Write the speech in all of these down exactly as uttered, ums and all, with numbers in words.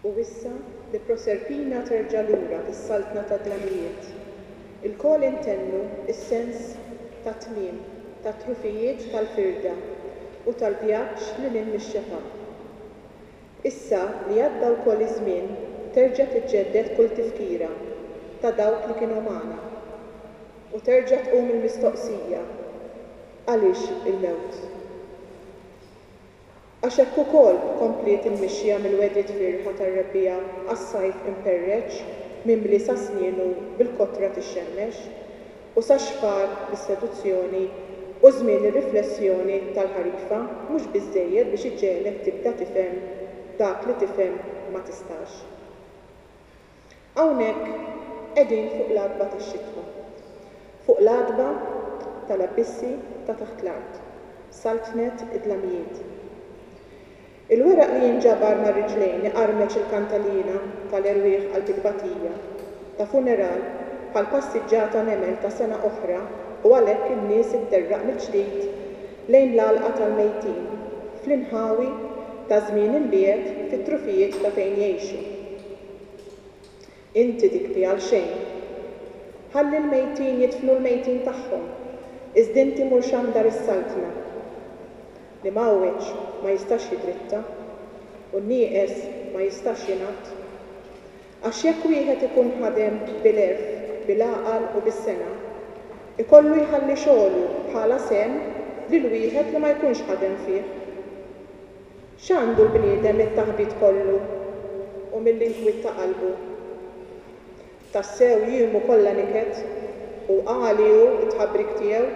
U issa li Proserpina terġa' lura fis-saltna tad-dlamijiet, ilkoll intennu s-sens tat-tmiem, tat-trufijiet tal-firda u tal-vjaġġ lil hinn mix-xefaq. Issa li għadda wkoll iż-żmien, terġa' tiġġedded kull tifkira ta' dawk li kienu magħna. U terġa' tqum il-mistoqsija, għaliex il-mewt? Għax hekk ukoll kompliet il-mixja mill-wegħdiet fierħa tar-rebbiegħa għas-sajf imperreċ mimli sa snienu bil-kotra tixxemmex u sax-xfar bis-seduzzjoni u żmien ir-riflessjoni tal-ħarifa mhux biżżejjed biex iġegħlek tibda tifhem dak li tifhem ma tistax. Hawnhekk qegħdin fuq l-għatba tax-xitwa. Fuq l-għatba tal-abbissi ta' taħt l-art, saltnet id-dlamijiet. Il-weraq li jinġabar mar-riġlejn iqarmeċ il-kantalina tal-erwieħ qalb it-tbatija, ta' funeral bħal passiġġata nemel ta' sena oħra u għalhekk in-nies itterraq mill-ġdid lejn l-għalqa tal-mejtin, fl-inħawi ta' żmien imbiegħed fit-trufijiet ta' fejn jgħixu. Inti tibki għal xejn. Ħalli l-mejtin jidfnu l-mejtin tagħhom, iżda inti mur xandar is-saltna. Li mgħawweġ ma jistax jidritta u n-nieqes ma jistax jingħad. Għax jekk wieħed ikun ħadem bil-għerf, bil-għaqal u bis-sengħa, ikollu jħalli xogħlu bħala sehem lil wieħed li ma jkunx ħadem fih. X'għandu l-bniedem mit-taħbit kollu u mill-inkwiet ta' qalbu? Tassew jiemu kollha niket u għali hu t-tħabbrik tiegħu,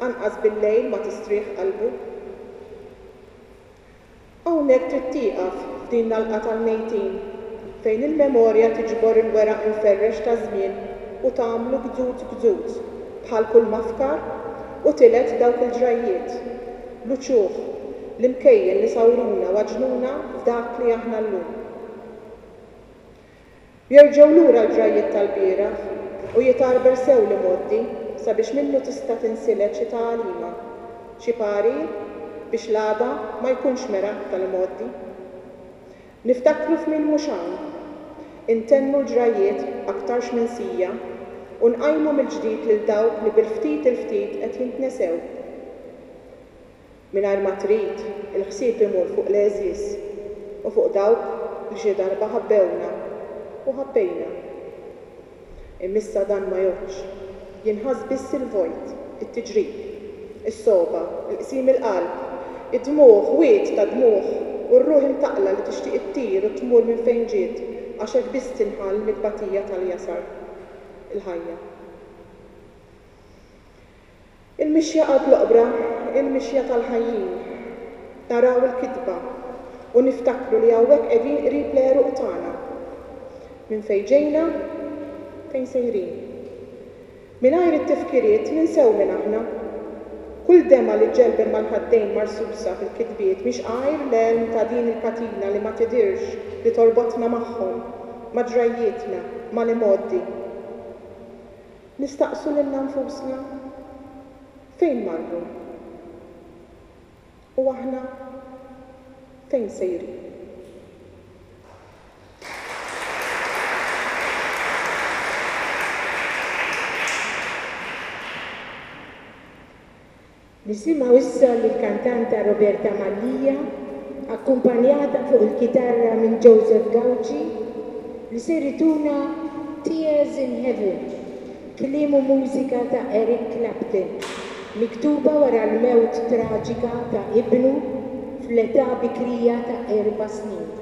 anqas bil-lejl ma tistrieħ qalbu. Hawnhekk trid tieqaf f'din l-għalqa tal-mejtin fejn il-memorja tiġbor il-weraq imferrex taż-żmien u tagħmlu gzuz gzuz bħal kull mafkar u tiled dawk il-ġrajjiet, l-uċuħ, l-imkejjen li sawruna u għaġnuna f'dak li aħna llum. Jerġgħu lura l-ġrajjiet tal-bieraħ u jitgħarbel sew l-imgħoddi sabiex minnu tista' tinsilet xi tagħlima, xi parir biex l-għada ma jkunx mera tal-imgħoddi. Niftakru f'min mhux hawn, intennu l-ġrajjiet aktarx minsija u nqajmu mill-ġdid lil dawk li bil-ftit il-ftit qed jintnesew. Mingħajr ma trid, il-ħsieb imur fuq l-għeżież u fuq dawk li xi darba ħabbewna u ħabbejna. Imma issa dan ma jgħoddx, jinħass biss il-vojt, it-tiġrib, is-sogħba, il-qsim il-qalb, id-dmugħ, wied ta' dmugħ, u r-ruħ imtaqqla li tixtieq ittir u tmur minn fejn ġiet għax hekk biss tinħall mit-tbatija tal-jasar, il-ħajja. Il-mixja qalb l-oqbra, il-mixja tal-ħajjin. Naraw il-kitba u niftakru li hawnhekk qegħdin qrib l-għeruq tagħna. Minn fejn ġejna, fejn sejrin. Mingħajr it-tifkiriet ninsew minn aħna. Kull demgħa li ġġelbel mal-ħaddejn marsusa fil-kitbiet mhix għajr l-għelm ta' din il-katina li ma tidirx li torbotna magħhom, ma' ġrajjietna, mal-imgħoddi. Nistaqsu lilna nfusna fejn marru? U aħna fejn sejrin? Nisimgħu issa lill-kantanta Roberta Mallia, akkumpanjata fuq il-kitarra minn Joseph Gauci, li ser ituna Tears in Heaven, kliem u mużika ta' Eric Clapton, miktuba wara l-mewt traġika ta' ibnu fl-età bikrija ta' erba' snin.